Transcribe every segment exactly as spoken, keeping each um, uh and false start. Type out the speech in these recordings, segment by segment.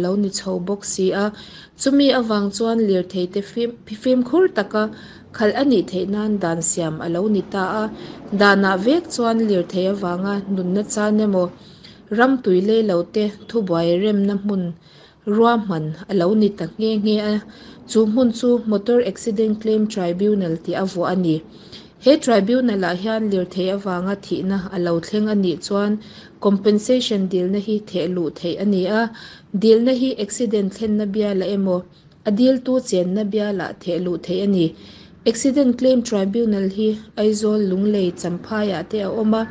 lo ni chho bawk si a. Chumi avang chuan lirtheite fimkhur taka khalh a nih theih nan dan siam a lo ni ta a. Danah vek chuan lirthei avanga nunna chan emaw, ram tui lei lo te thubuai remna hmun ruahman a lo ni ta nghe nghe a. Chu hmun chu Motor Accident Claim Tribunal tih a vuah a ni. He tribunal-ah hian lirthei avanga thihna a lo thleng a nih chuan compensation dilna hi theh luh theih a ni a. Dilna hi accident thlenna bialah emaw, a diltu chenna bialah theh luh theih a ni. Accident Claim Tribunal hi Aizawl, Lunglei, Champhaiah te a awm a.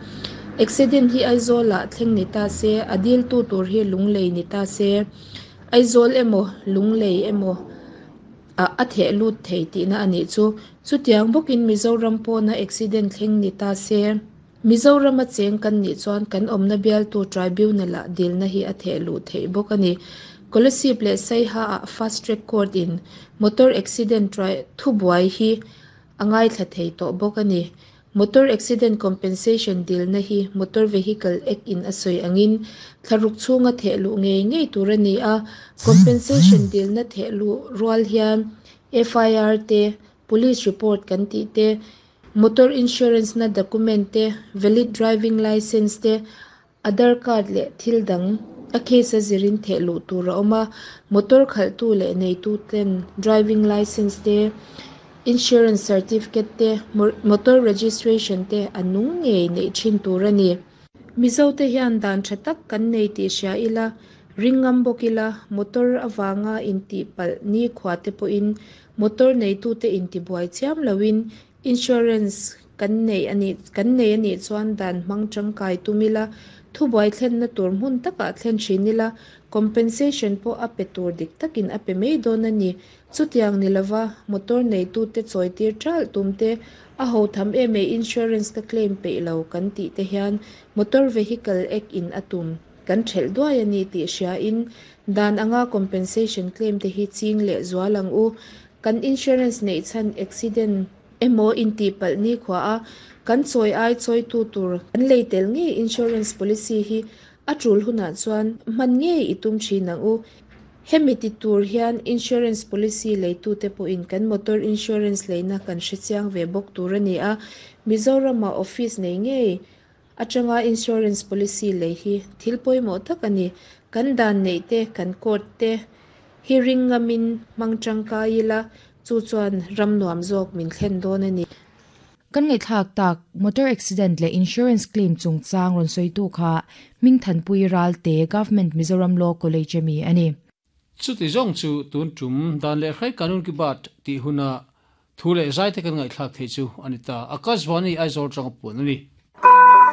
Accident hi Aizawlah thleng ni ta se, a diltu tur hi Lunglei ni ta se, Aizawl emaw, Lunglei emaw ah a theh lut thei tihna a nih chu. Chutiang bawkin Mizoram pawna accident thleng ni ta se, Mizorama cheng kan nih chuan kan awmna bialtu tribunal-ah dilna hi a theh luh theih bawk a ni. Kolasib leh Saiha-ah Fast Track Court in motor accident thubuai hi a ngaithla thei tawh bawk a ni. Motor accident compensation dilna hi Motor Vehicle Act in a sawi angin thlaruk chhunga theh luh ngei ngei tur a ni a. Compensation dilna theh luh rual hian F I R te, police report kan tih te, motor insurance na document te, valid driving license te, Aadhaar card leh thil dang a case a zirin theh luh tur a awm a. Motor khalhtu leh neitu ten driving license te, insurance certificate te, motor registration te a nung ngei neih thin tur a ni. Mizote hian dan tha tak kan nei tih hria ila, ring ngam bawk ila, motor avanga intihpalh nikhua te pawhin motor neitute intibuai chiam loin insurance kan nei a nih kan nei a nih chuan dan hmang tangkai tum ila, thubuai thlenna tur hmun takah thlen thin ila, compensation pawh a pe tur dik takin a pe mai dawn a ni. Chutiang ni lova motor neitute chawitir ṭalh tum te, a ho tham em e insurance ka claim peih lo kan tih te hian Motor Vehicle Act in a tum kan ṭhelh duai a ni tih hriain dan anga compensation claim te hi ching leh zual ang u. Kan insurance neih chhan accident emaw intihpalh nikhua a, kan chawi ai chawitu tur kan lei tel ngei insurance policy hi a tul hunah chuan hman ngei i tum thin ang u. Hemi ti tur hian insurance policy leitute pawhin kan motor insurance leina kan hrechiang ve bawk tur a ni a. Mizorama office nei ngei atanga insurance policy lei hi thil pawimawh tak a ni. Kan dan neih te, kan court te hi ring ngamin hmang tangkai ila, chu chuan ram nuam zawk min thlen dawn a ni. Kan ngaihthlak tak motor accident leh insurance claim chungchang rawn sawitu kha Hmingthanpui Ralte Government Mizoram Law College ami a ni. Chuti zawng chu tun tum dan leh hrai kanun ki baat tih huna thu leh zai te kan ngaihthlak thei chu a ni ta. Akashvani Aizawl tanga puan a ni.